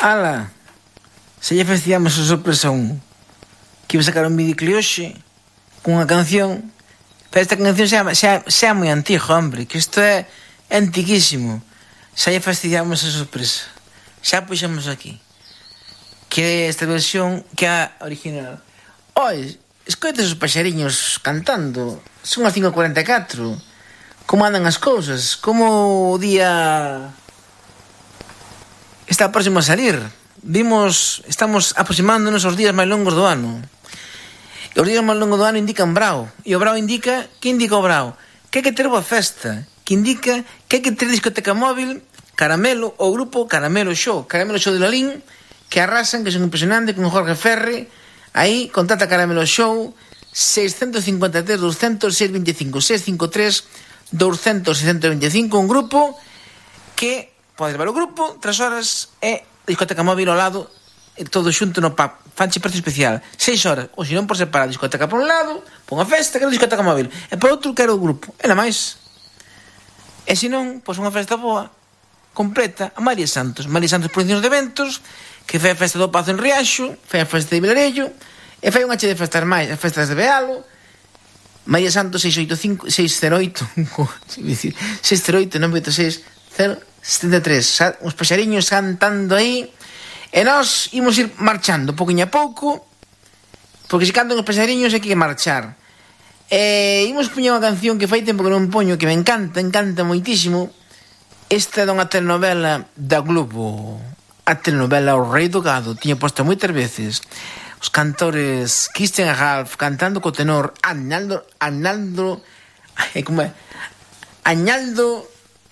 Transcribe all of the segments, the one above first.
Ala, se lle facíamos a sorpresa que iba a sacar un videoclip hoxe cunha canción, pero esta canción xa moi antiga, hombre, que isto é antiquísimo. Xa lle fastidiamos a sorpresa, xa puxemos aquí que esta versión que é a original. Oi, escoites os paxariños cantando, son as 5:44. Como andan as cousas? Como o día está próximo a salir? Estamos aproximándonos aos días máis longos do ano. E os días máis longos do ano indican brao. E o brao indica... Que indica o brao? Que hai que ter boa festa. Que indica que hai que ter discoteca móvil, Caramelo, o grupo Caramelo Show. Caramelo Show de Lalín, que arrasan, que son impresionantes, con Jorge Ferri. Aí, contacta Caramelo Show, 653 200 625 653 200 625, un grupo que podes ver o grupo 3 horas e discoteca móvil ao lado, todo xunto no pub, fanche precio especial 6 horas, ou se non por separar discoteca por un lado, por unha festa, quero discoteca móvil, e por outro quero o grupo, e nada máis. E se non, pois unha festa boa completa a María Santos Producións de Eventos, que fai a festa do Pazo en Riaxo, fai a festa de Vilarello, e fai unha che de festas máis, as festas de Bealo. María Santos 608 986 073. Uns paxariños cantando aí. E nós imos ir marchando pouquinho a pouco, porque se cantan os paxariños hai que marchar. E imos poñer unha canción que fai tempo que non poño, que me encanta moitísimo. Esta é dunha telenovela da Globo, a telenovela O Rei do Gado. Tiña posta moitas veces os cantores Christian Ralph cantando co tenor Añaldo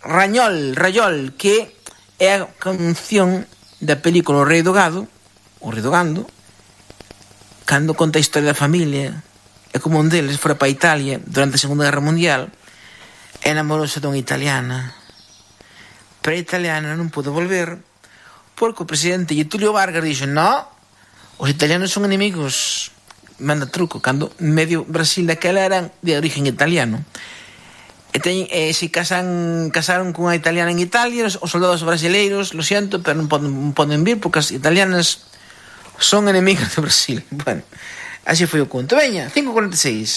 Rayol, que é a canción da película O Rei do Gando, cando conta a historia da familia e como un deles fora para Italia durante a Segunda Guerra Mundial e enamorouse dunha italiana, pero a italiana non pudo volver porque o presidente Getúlio Vargas dixo: no, os italianos son inimigos, manda truco, cando medio Brasil daquela eran de origen italiano. E se casaron cunha italiana en Italia, os soldados brasileiros, lo siento, pero non poden vir porque as italianas son enemigas de Brasil. Bueno, así foi o conto. Veña, 5:46.